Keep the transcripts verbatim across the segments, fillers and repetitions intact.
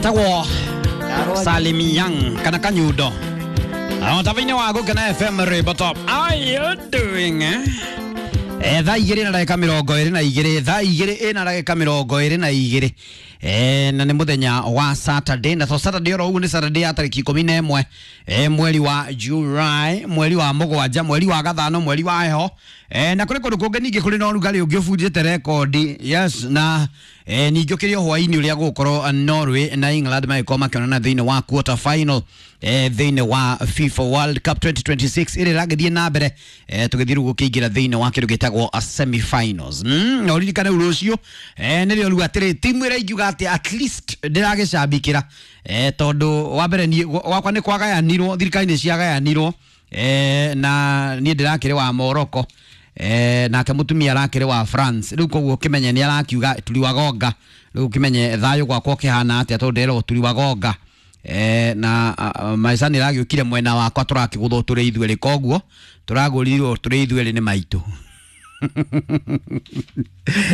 Etagwo Salim Young kana Kanyundo. Tavainĩ wa Gũkena F M Rwĩmbo Top. How are you doing? Eh? Eh, thaa igĩrĩ na ndagĩka mĩrongo ĩrĩ na igĩrĩ, thaa igĩrĩ ĩna ndagĩka mĩrongo ĩrĩ na igĩrĩ. Eh, na nĩ mũthenya wa Saturday, na to Saturday oro ũguo nĩ Saturday ya tarĩki ikũmi na ĩmwe, eh, mweri wa July, mweri wa mũgwanja, mweri wa gathano, mweri wa heho. Eh, na kũrĩ kũndũ kũngĩ ningĩ kũrĩ na ũrugarĩ ũngĩ ũbunjĩte rekondi. Yes, na eh, ningĩ ũkĩrĩ o hwaĩ-inĩ ũrĩa gũgũkorwo Norway na England magĩkorwo makĩonana thĩinĩ wa quarter final, eh, thĩinĩ wa FIFA World Cup twenty twenty-six ĩrĩa ĩragĩthiĩ na mbere, eh, tũgĩthiĩ rĩu gũkĩingĩra thĩinĩ wa kĩndũ gĩtagwo a semi-finals. Mm, na ũririkane rĩu rũciũ, eh, nĩrĩo rĩu atĩrĩ timu ĩrĩa ingiuga atĩ at least ndĩragĩcambikĩra, eh, tondũ wa mbere niĩ gwakwa nĩ kwagayanirwo, thirikari nĩ ciagayanirwo, eh, na niĩ ndĩrakĩrĩ wa Morocco, eh, nake mũtumia arakĩrĩ wa France. Rĩu koguo ũkĩmenye nĩ arakiuga turiwagonga. Rĩu ũkĩmenye thayũ gwakwa ũkĩhana atĩa tondũ ndĩrerwo turiwagonga. Eh, na uh, maica nĩ ĩragĩũkire mwena wakwa tũrakĩgũthwo tũrĩ ithuerĩ, koguo tũragũrirwo tũrĩ ithuerĩ nĩ maitũ.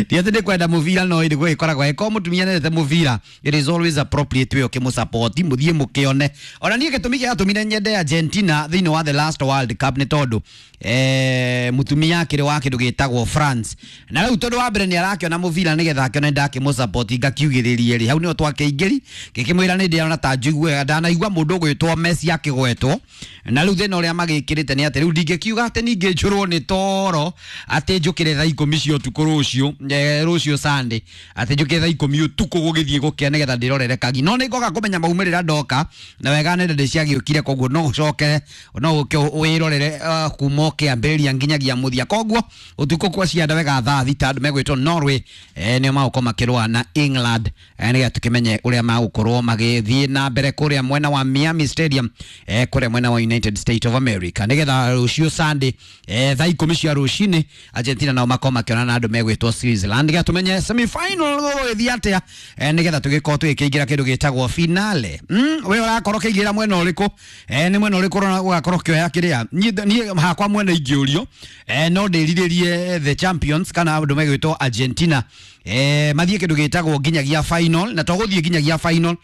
Ti atĩ ndĩkwenda mũbira no ĩrĩ gũgĩkoragwo ĩkorwo mũtumia nĩendete mũbira, it is always appropriate we ũkĩmũsupport, mũthiĩ mũkĩone. Ona niĩ gĩtũmi gĩatũmire nyende Argentina thĩinĩ wa the last World Cup nĩ tondũ, eh, mũtumia akĩrĩ wa kĩndũ gĩtagwo France, na rĩu tondũ wa mbere nĩ arakĩona mũbira nĩgetha akĩone ndakĩmũsupport ngakiugĩrĩrie rĩ, hau nĩho twakĩingĩri ngĩkĩmwĩra nĩ ndĩrona ta njiguaga ndanaigua mũndũ ũgwĩtwo Messi akĩgwetwo, na rĩu thĩna ũrĩa magĩkĩrĩte nĩ atĩ rĩu ndingĩkiuga atĩ ningĩ njũrwo nĩ toro atĩ njũkĩre thaa ikũmi cia ũtukũ rũciũ, eh, rũciũ Sunday, atĩ njũkĩre thaa ikũmi ũtukũ gũgĩthiĩ gũkĩa nĩgetha ndĩrorere kagi, no nĩ ngoka kũmenya maumĩrĩra ndoka na wega nenda ndĩciagĩũkire, koguo no ũcokere no ũke wĩrorere, uh, kuma ũkĩambĩrĩria nginyagia mũthia. Koguo ũtukũ kwa cianda wega thaa thita andũ megwĩtwo Norway, eh, nĩo magũkorwo makĩrũa na England, eh, nĩgetha tũkĩmenye ũrĩa magũkorwo magĩthiĩ na mbere kũrĩa mwena wa Miami Stadium, eh, kũrĩa mwena wa United States of America, nĩgetha rũciũ Sunday, eh, thaa ikũmi cia rũcinĩ Argentina nao makorwo makĩonana na andũ megwĩtwo Switzerland, nĩgetha tũmenye semi-final gũgũgĩthiĩ atĩa, eh, nĩgetha tũgĩkorwo tũgĩkĩingĩra kĩndũ gĩtagwo finale. Mm, we ũrakorwo ũkĩingĩra mwena ũrĩkũ? Eh, nĩ mwena ũrĩkũ ũrona ũgakorwo ũkĩoya kĩrĩa? Niĩ, niĩ hakwa mwena ingĩũrio, eh, no ndĩrirĩrie the champions kana andũ megwĩtwo Argentina, eh, mathiĩ kĩndũ gĩtagwo nginyagia final, na to gũthiĩ nginyagia final,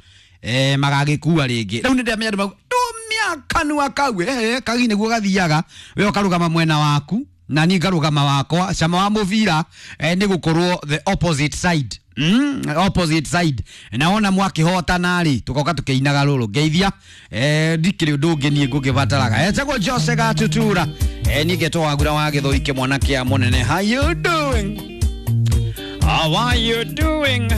eh, magagĩkua rĩngĩ. Rĩu nĩ ndĩramenya andũ mauga, ndũmia kanua kau, eh, kagi nĩguo gathiaga, we ũkarũgama mwena waku na niĩ ngarũgama wakwa. Cama wa mũbira, eh, nĩ gũkorwo the opposite side. Mm, opposite side. Na wona mwakĩhotana rĩ, tũgoka tũkĩinaga rũrũ ngeithia, eh, ndikĩrĩ ũndũ ũngĩ niĩ ngũkĩbataraga. Etagwo Jose Gatutura, eh, niĩ ngetwo Wagura wa Gĩthũi kĩmwana kĩa mũnene. How you doing? How are you doing?